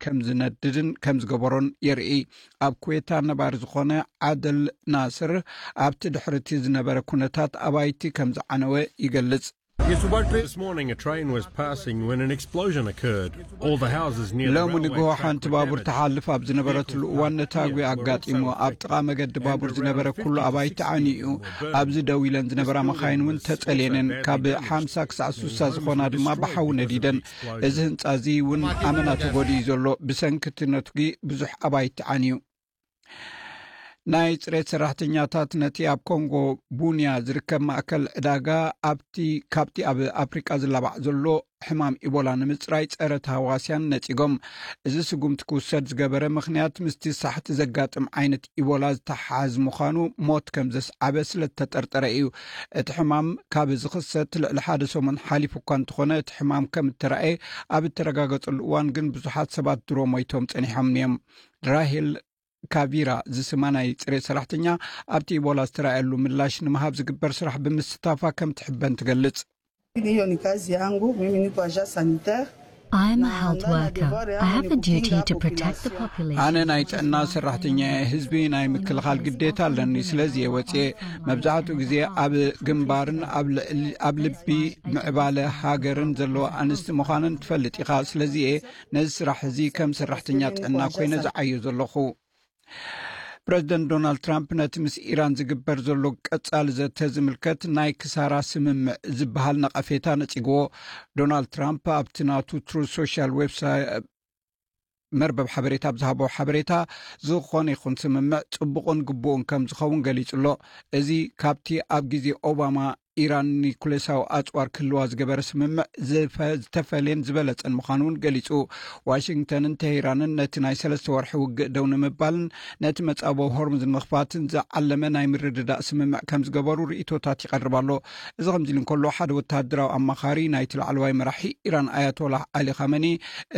ከም ዝነድድን ከም ዝገበሮን የርኢ። ኣብ ኩዌታ ነባሪ ዝኾነ ዓደል ናስር ኣብቲ ድሕርቲ ዝነበረ ኩነታት ኣባይቲ ከም ዝዓነወ ይገልጽ። This morning, a train was passing when an explosion occurred. All the houses near the ሎሚ railway ንግሆ track ሓንቲ were ባቡር damaged. ትሓልፍ ኣብ ዝነበረትሉ እዋን ነታጒ ኣጋጢሙ። ኣብ ጥቓ መገዲ ባቡር ዝነበረ ኩሉ ኣባይቲ ዓንዩ እዩ። ኣብዚ ደው ኢለን ዝነበራ መኻይን እውን ተጸልየነን። ካብ ሓምሳ ክሳዕ ስሳ ዝኾና ድማ ብሓዊ ነዲደን። እዚ ህንጻ እዚ እውን ኣመና ተጎዲኡ ዘሎ። ብሰንኪ እቲ ነትጒ ብዙሕ ኣባይቲ ዓንዩ። ናይ ጽሬት ሰራሕተኛታት ነቲ ኣብ ኮንጎ ቡንያ ዝርከብ ማእከል ዕዳጋ ኣብቲ ካብቲ ኣብ ኣፍሪቃ ዝላባዕ ዘሎ ሕማም ኢቦላ ንምጽራይ ጸረ ተሃዋስያን ነጺጎም። እዚ ስጉምቲ ክውሰድ ዝገበረ ምኽንያት ምስቲ ሳሕቲ ዘጋጥም ዓይነት ኢቦላ ዝተሓሓዝ ምዃኑ ሞት ከም ዘስዓበ ስለ ዝተጠርጠረ እዩ። እቲ ሕማም ካብ ዝኽሰት ልዕሊ ሓደ ሰሙን ሓሊፉ እኳ እንተኾነ፣ እቲ ሕማም ከም እተራእየ ኣብ እተረጋገጸሉ እዋን ግን ብዙሓት ሰባት ድሮ ሞይቶም ጸኒሖም እዮም። ራሄል ካቪራ ዝስማ ናይ ጽሬት ሰራሕተኛ ኣብቲ ኢቦላ ዝተራእየሉ ምላሽ ንምሃብ ዝግበር ስራሕ ብምስታፋ ከም ትሕበን ትገልጽ። Hiyo ni kazi yangu, mimi niko agent sanitaire. I'm a health worker. I have a duty to protect the population. ኣነ ናይ ጥዕና ሰራሕተኛ እየ። ህዝቢ ናይ ምክልኻል ግዴታ ኣለኒ። ስለዚ እየ ወፅየ። መብዛሕትኡ ግዜ ኣብ ግንባርን ኣብ ልዕሊ- ኣብ ልቢ ምዕባለ ሃገርን ዘለዋ ኣንስቲ ምዃነን ትፈልጥ ኢኻ። ስለዚ እየ ነዚ ስራሕ እዚ ከም ሰራሕተኛ ጥዕና ኮይነ ዝዓዮ ዘለኹ። ፕረዚደንት ዶናልድ ትራምፕ ነቲ ምስ ኢራን ዝግበር ዘሎ ቀጻሊ ዘተ ዝምልከት ናይ ክሳራ ስምምዕ ዝበሃል ነቐፌታ ነጺግዎ። ዶናልድ ትራምፕ ኣብቲ ናቱ ትሩዝ ሶሻል ዌብሳይት መርበብ ሓበሬታ ኣብ ዝሃቦ ሓበሬታ፣ ዝኾነ ይኹን ስምምዕ ጽቡቕን ግቡእን ከም ዝኸውን ገሊጹ ኣሎ። እዚ ካብቲ ኣብ ግዜ ኦባማ ኢራን ኒኩሌሳዊ ኣጽዋር ክህልዋ ዝገበረ ስምምዕ ዝፈ- ዝተፈልየን ዝበለጸን ምዃኑ እውን ገሊጹ። ዋሽንግተንን ቴሄራንን ነቲ ናይ ሰለስተ ወርሒ ውግእ ደው ንምባልን ነቲ መጻብቦ ሆርሙዝ ንምኽፋትን ዝዓለመ ናይ ምርድዳእ ስምምዕ ከም ዝገበሩ ርእይቶታት ይቐርብ ኣሎ። እዚ ከምዚ ኢሉ እንከሎ፣ ሓደ ወተሃደራዊ ኣማኻሪ ናይቲ ላዕለዋይ መራሒ ኢራን ኣያቶላህ ዓሊ ኻመኒ፣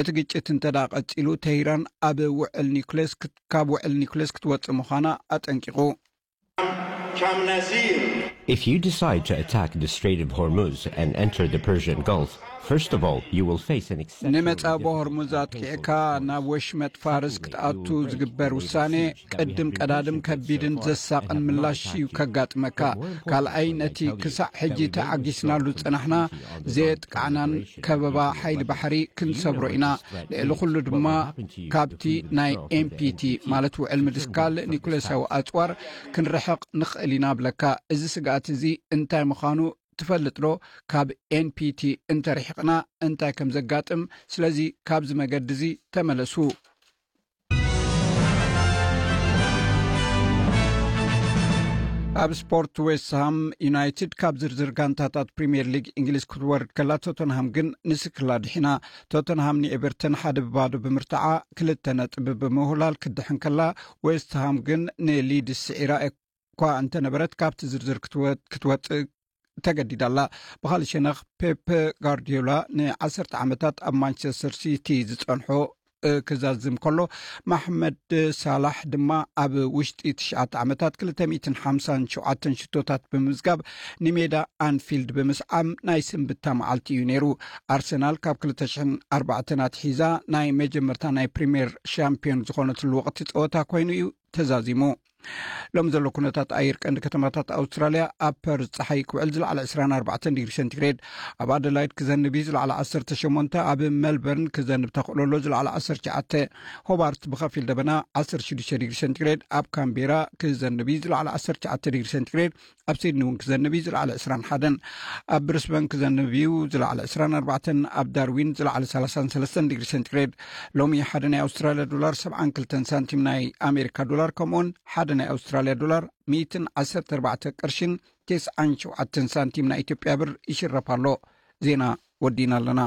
እቲ ግጭት እንተ ደኣ ቀጺሉ፣ ቴሄራን ኣብ ውዕል ኒኩሌስ ክት- ካብ ውዕል ኒኩሌስ ክትወጽእ ምዃና ኣጠንቂቑ። If you decide to attack the Strait of Hormuz and enter the Persian Gulf, first of all, you will face an exceptional ንመጻብቦ difficult ሆርሙዝ and ኣጥቂዕካ painful choice. ናብ ወሽመጥ ፋርስ ክትኣቱ ዝግበር ውሳኔ ቅድም ቀዳድም ከቢድን ዘሳቕን ምላሽ እዩ ከጋጥመካ። ካልኣይ፣ ነቲ ክሳዕ ሕጂ ተዓጊስናሉ ዝጸናሕና ዘየጥቃዕናን ከበባ ሓይሊ ባሕሪ ክንሰብሮ ኢና። ልዕሊ ኩሉ ድማ ካብቲ ናይ ኤንፒቲ ማለት ውዕል ምድስካል ኒኩሌሳዊ ኣጽዋር ክንርሕቕ ንኽእል ኢና ብለካ። እዚ ስግኣት እዚ እንታይ ምዃኑ ትፈልጥ ዶ? ካብ ኤንፒቲ እንተርሒቕና እንታይ ከም ዘጋጥም፣ ስለዚ ካብዚ መገዲ እዚ ተመለሱ። ኣብ ስፖርት፣ ዌስትሃም ዩናይትድ ካብ ዝርዝር ጋንታታት ፕሪምየር ሊግ እንግሊዝ ክትወርድ ከላ፣ ቶተንሃም ግን ንስክላ ድሒና። ቶተንሃም ንኤቨርተን ሓደ ብባዶ ብምርታዓ ክልተ ነጥቢ ብምውህላል ክትድሕን ከላ፣ ዌስትሃም ግን ንሊድስ ስዒራ እኳ እንተነበረት ካብቲ ዝርዝር ክትወ- ክትወጽእ ተገዲዳ ኣላ። ብኻልእ ሸነኽ፣ ፔፕ ጋርዲዮላ ንዓሰርተ ዓመታት ኣብ ማንቸስተር ሲቲ ዝጸንሖ ክዛዝም ከሎ፣ ማሕመድ ሳላሕ ድማ ኣብ ውሽጢ ትሽዓተ ዓመታት ክልተ ሚእትን ሓምሳን ሸውዓተን ሽቶታት ብምምዝጋብ ንሜዳ ኣንፊልድ ብምስዓም ናይ ስንብታ መዓልቲ እዩ ነይሩ። ኣርሰናል ካብ ክልተ ሽሕን ኣርባዕተን ኣትሒዛ ናይ መጀመርታ ናይ ፕሪምየር ሻምፒዮን ዝኾነትሉ ወቕቲ ጸወታ ኮይኑ እዩ ተዛዚሙ። ሎም ዘሎ ኩነታት ኣየር ቀንዲ ከተማታት ኣውስትራልያ፣ ኣብ ፐርዝ ጸሓይ ክውዕል ዝለዓለ ዕስራን ኣርባዕተን ዲግሪ ሴንቲግሬድ፣ ኣብ ኣደላይድ ክዘንብ እዩ ዝለዓለ ዓሰርተ ሸሞንተ፣ ኣብ ሜልበርን ክዘንብ ተኽእሎ ኣሎ ዝለዓለ ዓሰርተ ትሽዓተ፣ ሆባርት ብኸፊል ደበና ዓሰርተ ሽዱሽተ ዲግሪ ሴንቲግሬድ፣ ኣብ ካምቤራ ክዘንብ እዩ ዝለዓለ ዓሰርተ ትሽዓተ ዲግሪ ሴንቲግሬድ፣ ኣብ ሲድኒ እውን ክዘንብ እዩ ዝለዓለ ዕስራን ሓደን፣ ኣብ ብሪስበን ክዘንብ እዩ ዝለዓለ ዕስራን ኣርባዕተን፣ ኣብ ዳርዊን ዝለዓለ ሰላሳን ሰለስተን ዲግሪ ሴንቲግሬድ። ሎሚ ሓደ ናይ ኣውስትራልያ ዶላር ሰብዓን ክልተን ሳንቲም ናይ ኣሜሪካ ዶላር፣ ከምኡውን ሓደ ናይ ኣውስትራልያ ዶላር ሚእትን ዓሰርተ ኣርባዕተ ቅርሽን ተስዓን ሸውዓተን ሳንቲም ናይ ኢትዮጵያ ብር ይሽረፍ ኣሎ። ዜና ወዲና ኣለና።